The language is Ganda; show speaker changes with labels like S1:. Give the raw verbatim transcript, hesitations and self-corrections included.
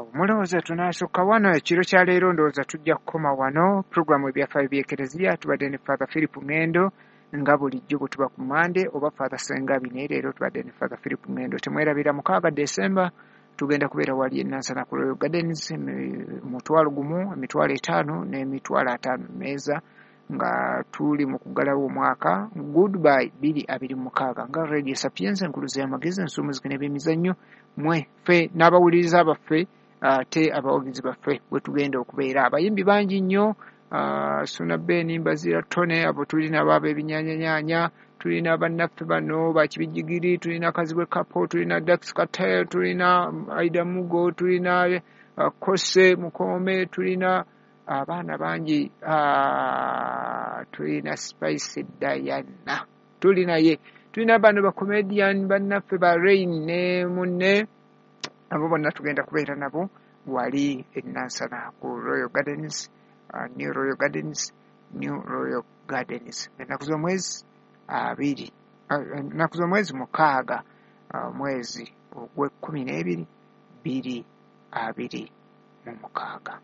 S1: Mulowooza tunaasukka wano ekiro kya leero? Ndowooza tujja kukoma wano. Puroguramu Ebyafaayo by'Ekereziya, tubadde ne Father Philip Ngendo nga bulijjo bwe tuba ku Mande, oba Father Sengabi, naye leero tubadde ne Father Philip Ngendo. Temwerabira, mukaaga Desemba tugenda kubeera wali e Nansana ku Royal Gardens, mutwalo gumu, emitwalo etaano n'emitwalo ataano meeza, nga tuli mu kuggalawo omwaka, goodbye bbiri abiri mukaaga, nga Radio Sapienza, enkuluzi y'amagezi, ensumuziki n'ebyemizannyo. Mwe ffe n'abawuliriza baffe ate abawagizi baffe bwe tugenda okubeera. Abayimbi bangi nnyo, Suna Ben, Mbazira Tone, abo tulina abo ab'ebinyanyanyanya, tulina bannaffe bano bakibijigiri, tulina Kazibwe Kapo, tulina Dax Kartel, tulina Aida Mugo, tulina uh, Kose Mukome, tulina abaana bangi, uh, tulina Spice Diana, tulinaye, tulina bano bacomedian bannaffe ba Rain ne munne. Abo bonna tugenda kubeera nabo wali e Nansana ku Royal Gardens, uh, New Royal Gardens, New Royal Gardens, ennaku z'omwezi abiri, ennaku z'omwezi mukaaga, mwezi ogw'ekkumi n'ebiri, bbiri abiri mu mukaaga.